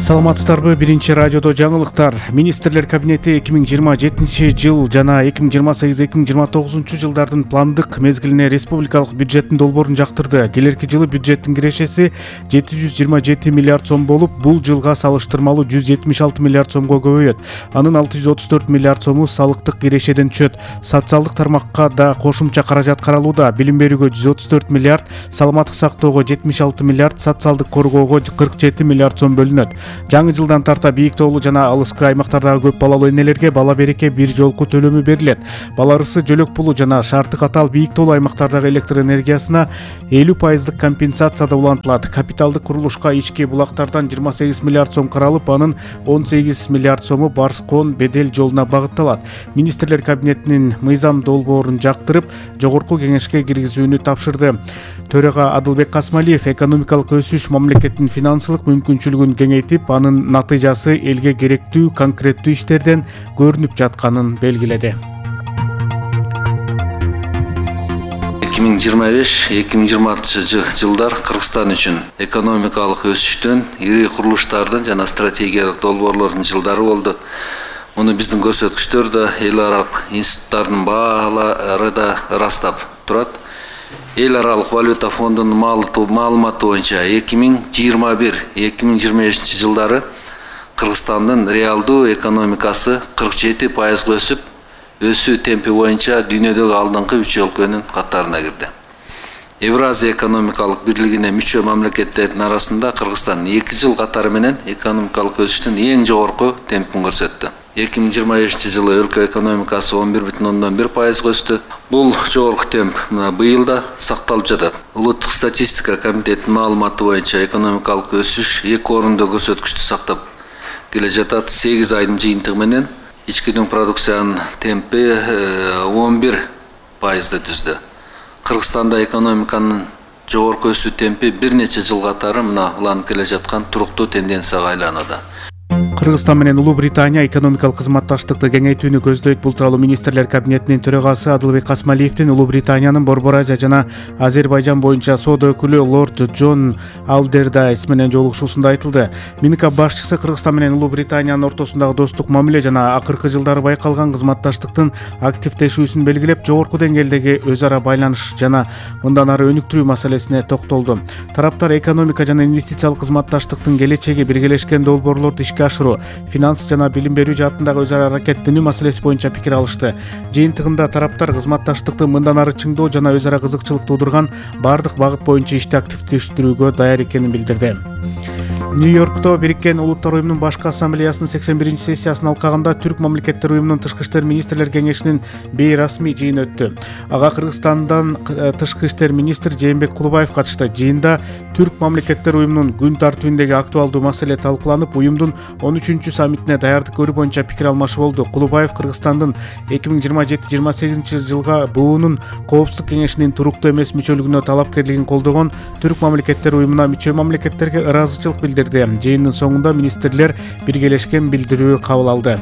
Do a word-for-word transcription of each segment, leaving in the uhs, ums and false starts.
Саламатсыздарбы? Биринчи радиодо жаңылыктар. Министрлер кабинети эки миң жыйырма жетинчи жыл жана эки миң жыйырма сегиз эки миң жыйырма тогузунчу жылдардын пландык мезгилине республикалык бюджеттин долбоорун жактырды. Келерки жылы бюджеттин кирешеси жети жүз жыйырма жети миллиард сом болуп, бул жылга салыштырмалуу жүз жетимиш алты миллиард сомго көбөйөт. Анын алты жүз отуз төрт миллиард сому салыктык кирешеден түшөт. Социалдык тармакка да кошумча каражат каралууда. Билим берүүгө жүз отуз төрт миллиард, саламаттык сактоого жетимиш алты миллиард, социалдык коргоого кырк жети миллиард сом бөлүнөт. Жаңы жылдан тарта бийик тоолуу жана алыскы аймактардагы көп балалуу энелерге бала береке бир жолку төлөмү берилет. Бала ырысы, жөлөк пулу жана шарты катаал бийик тоолуу аймактардагы электр энергиясына элүү пайыздык компенсацияда улантылат. Капиталдык курулушка ички булактардан жыйырма сегиз миллиард сом каралып, анын он сегиз миллиард сому Барскон Бедел жолуна багытталат. Министрлер кабинетинин мыйзам долбоорун жактырып, жогорку кеңешке киргизүүнү тапшырды. Төрага Адылбек Касмалиев экономикалык өсүш мамлекеттин финансылык мүмкүнчүлүгүн кеңейтип, анын натыйжасы элге керектүү конкреттүү иштерден көрүнүп жатканын белгиледи. эки миң жыйырма беш эки миң жыйырма алтынчы жылдар Кыргызстан үчүн экономикалык өсүштүн, ири курулуштардын жана стратегиялык долбоорлордун жылдары болду. Муну биздин көрсөткүчтөр да эл аралык институттардын баалары да ырастап турат. Эл аралык валюта фондунун маалыматы боюнча эки миң жыйырма бир эки миң жыйырма бешинчи жылдары Кыргызстандын реалдуу экономикасы кырк жети пайызга өсүп, өсүү темпи боюнча дүйнөдөгү алдыңкы үч өлкөнүн катарына кирди. Евразия экономикалык бирлигине мүчө мамлекеттердин арасында Кыргызстан эки жыл катары менен экономикалык өсүштүн эң жогорку темпин көрсөттү. эки миң жыйырма бешинчи жылы өлкө экономикасы он бир бүтүн ондон бир пайызга өстү. Бул жогорку темп быйыл да сакталып жатат. Улуттук статистика комитетинин маалыматы боюнча экономикалык өсүш эки орунду көрсөткүчтү сактап келе жатат. сегиз айдын жыйынтыгы менен ички дүң продукциянын темпи он бир пайызды түздү. Кыргызстанда экономиканын жогорку өсүү темпи бир нече жыл катары мына уланып келе жаткан туруктуу тенденцияга айланууда. Кыргызстан менен Улуу Британия экономикалык кызматташтыкты кеңейтүүнү көздөйт. Бул тууралуу министрлер кабинетинин төрагасы Адылбек Касмалиевдин Улуу Британиянын Борбор Азия жана Азербайжан боюнча соода өкүлү лорд Джон Алдердайс менен жолугушуусунда айтылды. Минкап башчысы Кыргызстан менен Улуу Британиянын ортосундагы достук мамиле жана акыркы жылдары байкалган кызматташтыктын активдешүүсүн белгилеп, жогорку деңгээлдеги өз ара байланыш жана мындан ары өнүктүрүү маселесине токтолду. Тараптар экономика жана инвестициялык кызматташтыктын келечеги, биргелешкен долбоорлорду ишке ашыруу, финанс жана билим берүү жаатындагы өз ара аракеттенүү маселеси боюнча пикир алышты. Жыйынтыгында тараптар кызматташтыкты мындан ары чыңдоо жана өз ара кызыкчылык туудурган бардык багыт боюнча ишти активдештирүүгө даяр экенин билдирди. Нью-Йоркто Бириккен Улуттар уюмунун башкы ассамблеясынын сексен биринчи сессиясын алкагында Түрк мамлекеттер уюмунун тышкы иштер министрлер кеңешинин бейрасмий жыйыны өттү. Ага Кыргызстандан тышкы иштер министри Жээнбек Кулубаев катышты. Жыйында Түрк мамлекеттер уюмунун күн тартибиндеги актуалдуу маселе талкууланып, уюмдун он үчүнчү саммитине даярдык көрүү боюнча пикир алмашуу болду. Кулубаев Кыргызстандын эки миң жыйырма жети жыйырма сегизинчи жылга буунун коопсуздук кеңешинин туруктуу эмес мүчөлүгүнө талапкерлигин колдогон Түрк мамлекеттер уюмуна мүчө мамлекеттерге ыраазычылык билдирди. Жыйындын соңунда министрлер биргелешкен билдирүү кабыл алды.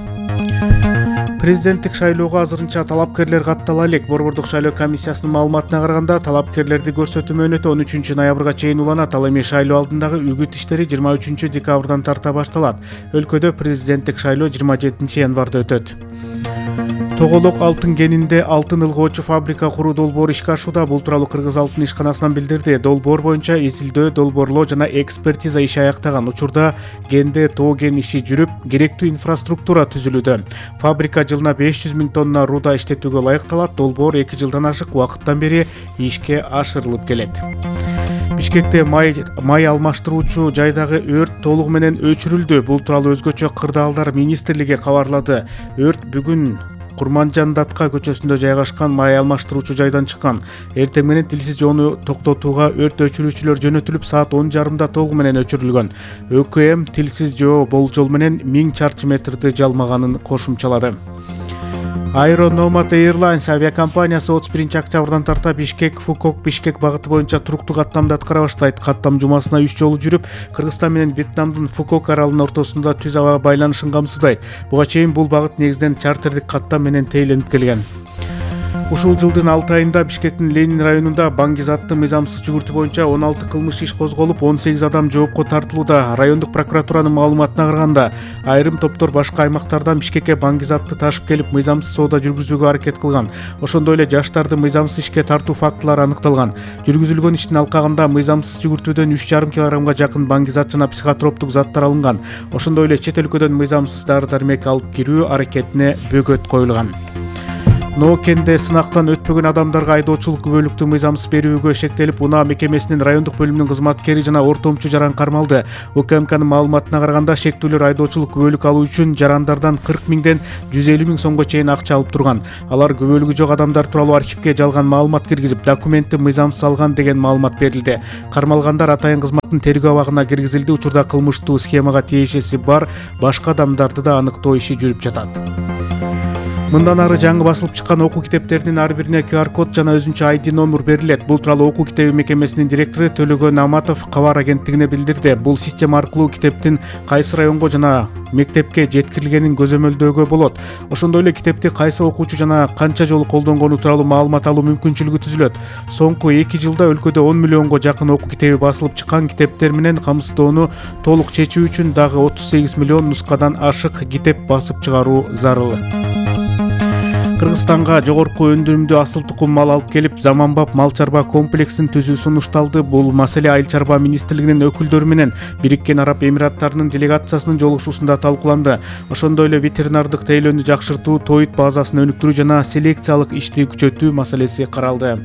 Президенттик шайлоого азырынча талапкерлер каттала элек. Борбордук шайлоо комиссиясынын маалыматына караганда, талапкерлерди көрсөтүү мөөнөтү он үчүнчү ноябрга чейин уланат. Ал эми шайлоо алдындагы үгүт иштери жыйырма үчүнчү декабрдан тарта башталат. Өлкөдө президенттик шайлоо жыйырма жетинчи январда өтөт. Тоголок алтын кенинде алтын ылгоочу фабрика куруу долбоору ишке ашууда. Бул тууралуу Кыргыз алтын ишканасынан билдирди. Долбоор боюнча изилдөө, долбоорлоо жана экспертиза иши аяктаган. Учурда кенде тоо кен иши жүрүп, керектүү инфраструктура түзүлүүдө. Фабрика жылына беш жүз миң тонна руда иштетүүгө ылайыкталат. Долбоор эки жылдан ашык убакыттан бери ишке ашырылып келет. Бишкекте май май алмаштыруучу жайдагы өрт толугу менен өчүрүлдү. Бул тууралуу өзгөчө кырдаалдар министрлиги кабарлады. Өрт бүгүн Курманжандатка көчөсүндө жайгашкан май алмаштыруучу жайдан чыккан. Эртең менен тилсиз жоону токтотууга өрт өчүрүүчүлөр жөнөтүлүп, саат он жарымда толугу менен өчүрүлгөн. ÖKM тилсиз жоо болжол менен миң чарчы метрди жалмаганын кошумчалады. Aero Nomad Airlines авиакомпаниясы отуз биринчи октябрдан тарта Бишкек Фукок Бишкек багыты боюнча туруктуу каттамды аткара баштайт. Каттам жумасына үч жолу жүрүп, Кыргызстан менен Вьетнамдын Фукок аралынын ортосунда түз аба байланышын камсыздайт. Буга чейин бул багыт негизинен чартердик каттам менен тейленип келген. Ушул жылдын алты айында Бишкектин Ленин районунда баңгизаттуу мыйзамсыз жүгүртүү боюнча он алты кылмыш иш козголуп, он сегиз адам жоопко тартылууда. Райондук прокуратуранын маалыматына караганда, айрым топтор башка аймактардан Бишкекке баңгизатты ташып келип, мыйзамсыз соода жүргүзүүгө аракет кылган. Ошондой эле жаштарды мыйзамсыз ишке тартуу фактылары аныкталган. Жүргүзүлгөн иштин алкагында мыйзамсыз жүгүртүүдөн үч жарым килограммга жакын баңгизат жана психотроптук заттар алынган. Ошондой эле чет өлкөдөн мыйзамсыз дары-дармек алып кирүү аракетине бөгөт коюлган. Ноокенде сынактан өтпөгөн адамдарга айдоочулук күбөлүктүү мыйзамсыз берүүгө шектелип, Унаа мекемесинин райондук бөлүмүнүн кызматкери жана ортомчу жаран кармалды. УКМКнын маалыматына караганда, шектүүлөр айдоочулук күбөлүк алуу үчүн жарандардан кырк миңден жүз элүү миң сомго чейин акча алып турган. Алар күбөлүгү жок адамдар тууралуу архивге жалган маалымат киргизип, документти мыйзамсыз алган деген маалымат берилди. Кармалгандар атайын кызматтын тергөө абагына киргизилди. Учурда кылмыштуу схемага тиешеси бар башка адамдарды да аныктоо иши жүрүп жатат. Мындан ары жаңы басылып чыккан окуу китептеринин ар бирине ку ар код жана өзүнчө ай ди номер берилет. Бул тууралуу окуу китеби мекемесинин директору Төлөгөн Аматов кабар агенттигине билдирди. Бул система аркылуу китептин кайсы районго жана мектепке жеткирилгенин көзөмөлдөөгө болот. Ошондой эле китепти кайсы окуучу жана канча жолу колдонгону тууралуу маалымат алуу мүмкүнчүлүгү түзүлөт. Соңку эки жылда өлкөдө он миллионго жакын окуу китеби басылып чыккан. Китептер менен камсыздоону толук чечүү үчүн дагы отуз сегиз миллион нускадан ашык китеп басып чыгаруу зарыл. Кыргызстанга жогорку өндүрүмдүү асыл тукум мал алып келип, заманбап мал чарба комплексин түзүү сунушталды. Бул маселе Айыл чарба министрлигинин өкүлдөрү менен Бириккен Араб Эмираттарынын делегациясынын жолугушуусунда талкууланды. Ошондой эле ветеринардык тейлөөнү жакшыртуу, тоит базасын өнүктүрүү жана селекциялык ишти күчөтүү маселеси каралды.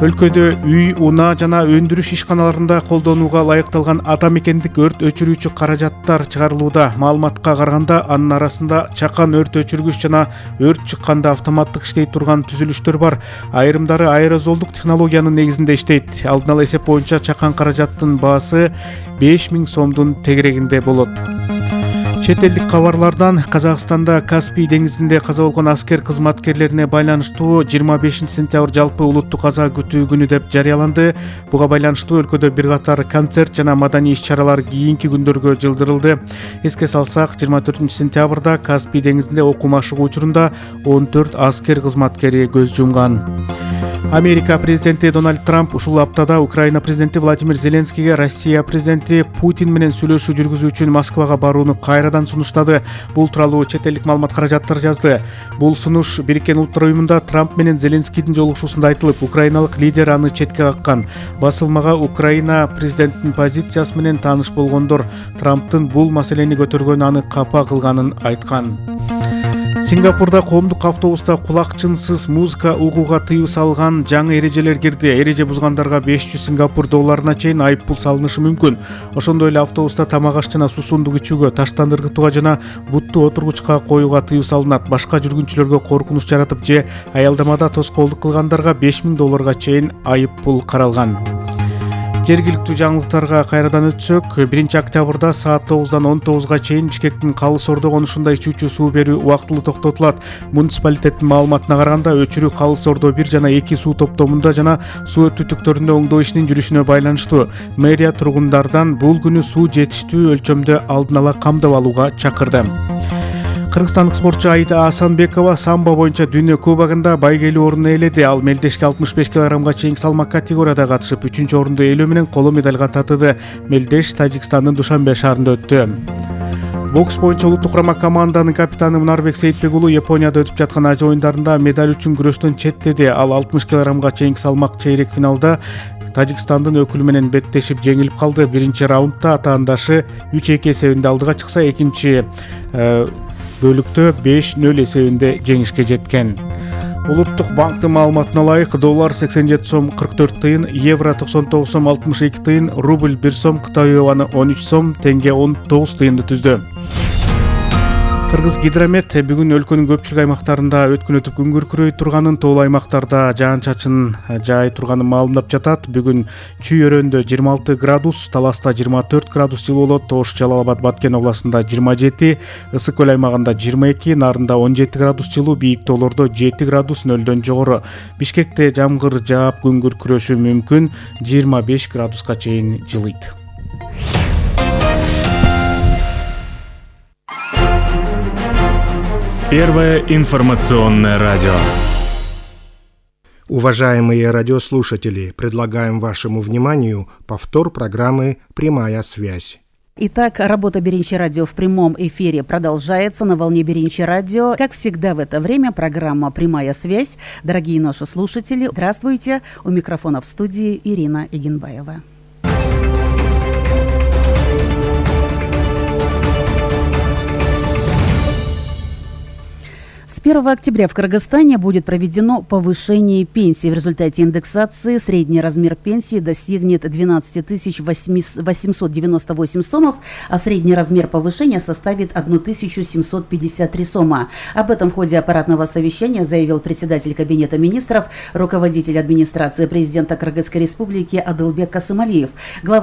Өлкөдө үй, унаа жана өндүрүш ишканаларында колдонууга ылайыкталган ата мекендик өрт өчүрүүчү каражаттар чыгарылууда. Маалыматка караганда, анын арасында чакан өрт өчүргүч жана өрт чыкканда автоматтык иштей турган түзүлүштөр бар. Айрымдары аэрозолдук технологиянын негизинде иштейт. Алдын ала эсеп боюнча чакан каражаттын баасы беш миң сомдун тегерегинде болот. Чет элдик кабарлардан Казакстанда Каспий деңизинде каза болгон аскер кызматкерлерине байланыштуу жыйырма бешинчи сентябрь жалпы улуттук каза күтүү күнү деп жарыяланды. Буга байланыштуу өлкөдө бир катар концерт жана маданий иш-чаралар кийинки күндөргө жылдырылды. Эске салсак, жыйырма төртүнчү сентябрда Каспий деңизинде окуу машыгуу учурунда он төрт аскер кызматкери көз жумган. Америка президенти Дональд Трамп ушул аптада Украина президенти Владимир Зеленскийге Россия президенти Путин менен сүйлөшүү жүргүзүү үчүн Москвага барууну кайрадан сунуштады. Бул тууралуу чет элдик маалымат каражаттар жазды. Бул сунуш Бириккен Улуттар уюмунда Трамп менен Зеленскийдин жолугушуусунда айтылып, украиналык лидер аны четке каккан. Басылмага Украина президентинин позициясы менен тааныш болгондор Трамптын бул маселени көтөргөнү аны капа кылганын айткан. Сингапурда коомдук автобуста кулакчынсыз музыка угууга тыюу салган жаңы эрежелер кирди. Эреже бузгандарга беш жүз Сингапур долларына чейин айыппул салынышы мүмкүн. Ошондой эле автобуста тамак аш жана суусундук ичүүгө, таштан ыргытууга жана бутту отургучка коюуга тыюу салынат. Башка жүргүнчүлөргө коркунуч жаратып же аялдамада тоскоолдук кылгандарга беш миң долларга чейин айыппул каралган. Жергиликтүү жаңылыктарга кайрадан өтсөк, биринчи октябрда саат тогуздан он тогузга чейин Бишкектин Калыс Ордо конушунда ичүүчү суу берүү убактылуу токтотулат. Муниципалитеттин маалыматына караганда, өчүрүү Калыс Ордо бир жана эки суу топтомунда жана суу түтүктөрүндө оңдоо ишинин жүрүшүнө байланыштуу. Мэрия тургундардан бул күнү суу жетиштүү өлчөмдө алдын ала камдап алууга чакырды. Кыргызстандык спортчу Аида Асанбекова самбо боюнча дүйнө кубогунда байгелүү орунду ээледи. Ал мелдешке алтымыш беш килограммга чейинки салмак категорияда катышып, үчүнчү орунду ээлөө менен коло медалга татыды. Мелдеш Тажикстандын Душанбе шаарында өттү. Бокс боюнча улуттук курама команданын капитаны Мунарбек Сейитбек уулу Японияда өтүп жаткан Азия оюндарында медаль үчүн күрөштөн четтеди. Ал алтымыш килограммга чейинки салмак чейрек финалда Тажикстандын өкүлү менен беттешип жеңилип калды. Биринчи раундда атаандашы үч эки эсебинде алдыга чыкса, экинчи бөлүктө беш нөл эсебинде жеңишке жеткен. Улуттук банктын маалыматына ылайык, доллар сексен жети сом кырк төрт тыйын, евро токсон тогуз сом алтымыш эки тыйын, рубль бир сом, Кытай юаны он үч сом, тенге он тогуз тыйынды түздү. Кыргыз гидромет бүгүн өлкөнүн көпчүлүк аймактарында өткөн өтүп күн күркүрөй турганын, тоолуу аймактарда жаан-чачын жаай турганын маалымдап жатат. Бүгүн Чүй өрөөндө жыйырма алты градус, Таласта жыйырма төрт градус жылуу болот, Ош, Жалал Абад, Баткен областында жыйырма жети, Ысык көл аймагында жыйырма эки, Нарында он жети градус жылуу, бийик тоолордо жети градус нөлдөн жогору. Бишкекте жамгыр жаап күн күркүрөшү мүмкүн, жыйырма беш градуска чейин жылыйт. Первое информационное радио. Уважаемые радиослушатели, предлагаем вашему вниманию повтор программы «Прямая связь». Итак, работа Беринчи радио в прямом эфире продолжается на волне Беринчи радио. Как всегда в это время программа «Прямая связь». Дорогие наши слушатели, здравствуйте. У микрофона в студии Ирина Егенбаева. С первого октября в Кыргызстане будет проведено повышение пенсий. В результате индексации средний размер пенсии достигнет двенадцать тысяч восемьсот девяносто восемь сомов, а средний размер повышения составит тысячу семьсот пятьдесят три сома. Об этом в ходе аппаратного совещания заявил председатель Кабинета министров, руководитель администрации президента Кыргызской республики Адылбек Касымалиев. Глава